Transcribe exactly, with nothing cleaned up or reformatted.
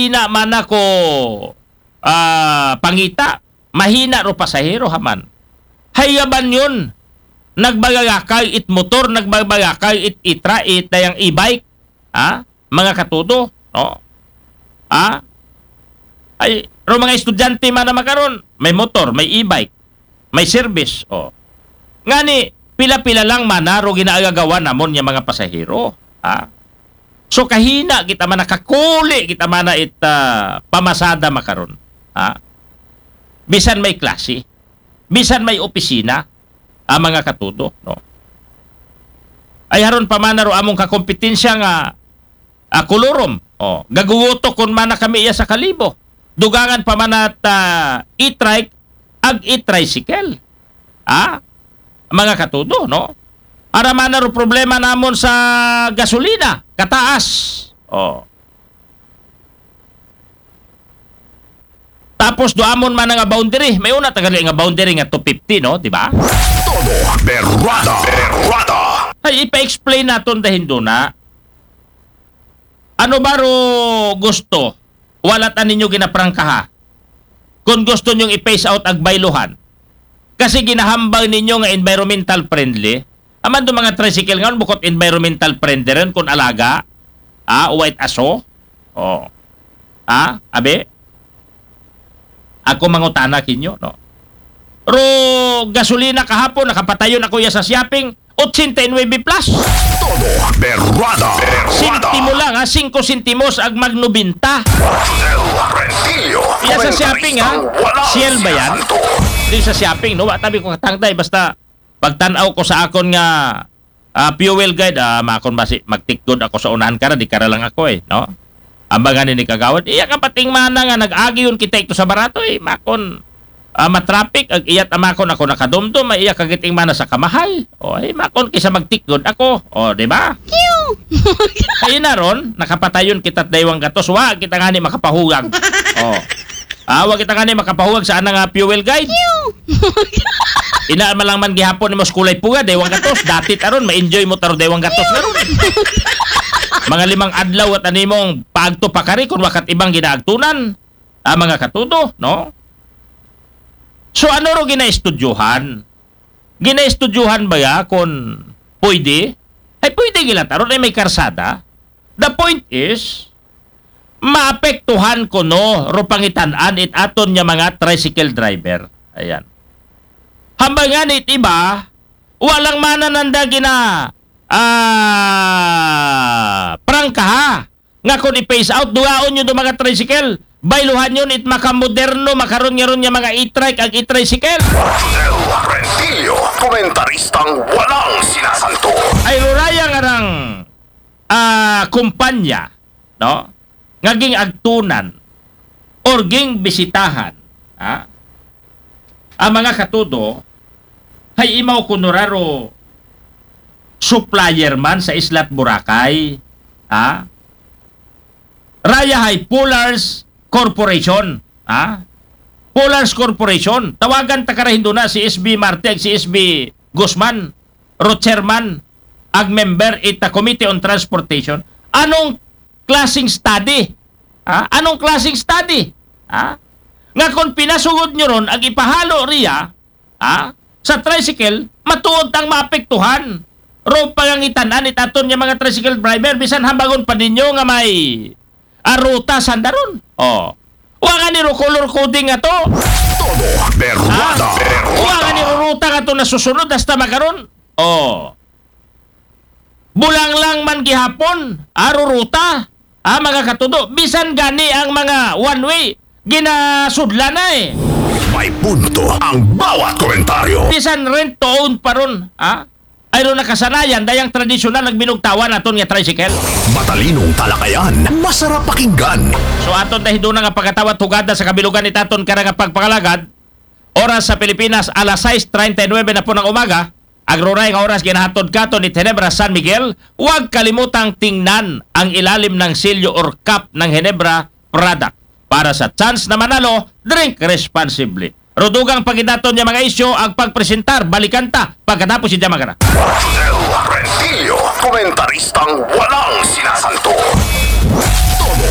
Mahina man ako, ah, pangita. Mahina ro pasahero ha man. Hay yaban yon. Nagbagagakay it motor, nagbagagakay it itra, it dayang e-bike. Ha? Mga katudo, no? Ha? Ay, ro mga estudyante man na makaron, may motor, may e-bike, may service, o. Ngani, pila-pila lang man na ro ginaagagawan namon nga mga pasahero. Ha? So, kahina kita man na, kakuli kita man na it, ah, pamasada makaron. Ha? Bisan may klase, bisan may opisina, ang mga katudo, no? Ay haron pa man na ro among kakompetensya nga, ah, kolorum. O, gaguguto kon man na kami iya sa kalibo. Dugangan pa man at, ah, e-trike, ag e-tricycle. Ha? Mga katudo, no? Ara man na ro problema namon sa gasolina, kataas. O. Tapos do amon man nga boundary, may una tagali nga boundary nga two fifty, no, di ba? Todo berrada, berrada. Ay, ipa-explain naton dahin do na. Ano ba ro gusto? Wala ta ninyo ginaprangkaha. Kung gusto nyong i-phase out ag bayluhan. Kasi ginahambal ninyo nga environmental friendly. Aman do mga tricycle nga bukod environmental friendly rin kung alaga. Ah, uwait aso. O. Ah, abi? Ako mangutana kinyo, no? Ro gasolina kahapon, nakapatayon ako iya sa shopping, ochenta y nuebe plus. Todo berrada, berrada. Sentimo lang, ha? Singko sentimos ag mag nobenta. Del Rentillo. Iya sa shopping, ha? Walang Shell ba yan? sinasanto. Di sa shopping, no? Wa tabi ko katangday, basta pagtanaw ko sa akon nga, ah, fuel guide, ah, makon basi magtikod ako sa unahan kara, di kara lang ako eh, no? Ambangan ni kagawad, iya kapating mana nga nag-agi yun kita ito sa barato eh, makon, ah, matraffic, ag iyat amakon ako nakadumdum, ay iya kagiting mana sa kamahal. O, ay, makon kisa magtikod ako. O, di ba? Ay na ron, nakapatayon kita daywang gatos, wa kita nga ni makapahugag. O. Ah, wa kita nga ni makapahuwag sa anang, ah, fuel guide. Ina man lang man gihapon nimo sa kulay puga, daywang gatos. Dati taron, ma-enjoy mo taro daywang gatos na ron. Mga limang adlaw at animong paagto pa kari kung wakat ibang ginaagtunan. Ah, mga katudo, no? So, ano ro ginaestudyohan? Ginaestudyohan ba ya kung pwede? Ay, pwede gila taron ay may karsada. The point is, maapektuhan kuno ro pangitan-an it aton nga mga tricycle driver. Ayan. Hambal nga ni it iba, walang mana nanda gina, ah, prangkaha. Nga kung i-phase out, dugaon nyo do mga tricycle. Bayluhan yun it makamoderno, makaron nga ron nga mga e-trike ag e-tricycle. Del Rentillo, komentaristang walang sinasanto. Ay ruraya nga rang, ah, kumpanya, no? Nga ging agtunan or ging bisitahan, ha? Ang mga katudo, hay imaw kuno ra ro supplier man sa Isla't Boracay, ha? Raya hay Polars Corporation, ha? Polars Corporation, tawagan ta kara hindo na si S B Marte ag si S B Guzman, ro chairman, ag member ita Committee on Transportation. Anong klaseng study? Ha? Anong klaseng study? Ha? Nga kung pinasugod nyo ron, ag ipahalo riya, ha? Sa tricycle, matuod tang maapektuhan. Ro pangangitan-an it aton nga mga tricycle driver, bisan hambagon pa ninyo nga may, ah, ruta sanda ron. O. Wa nga ni ro color coding nga to. Todo berrada, Ah, wa nga ni berrada. ro ruta nga to nasusunod hasta makaron. O. Bulang lang man gihapon, aro ruta, ah, mga katudo, bisan gani ang mga one way, ginasudlan na eh. May punto ang bawat komentaryo. Bisan rent to own pa ron, ah? Ay ron nakasanayan, dayang tradisyonal nagbinugtawan aton nga tricycle. Matalinong talakayan, masarap pakinggan. So aton tayo doon nga pagkatawat hugada sa kabilugan ni taton karang pagpangalagad. Oras sa Pilipinas, alas sais treinta y nueve na po ng umaga. Agroray nga oras ginahatod katon ni Tenebra San Miguel. Huwag kalimutang tingnan ang ilalim ng silyo or cap ng Ginebra product. Para sa chance na manalo, drink responsibly. Ro dugang pa gid naton nga mga isyu ag pagpresentar, balikan ta pagkatapos si Jamagara. Del Rentillo, komentaristang walang sinasanto. Todo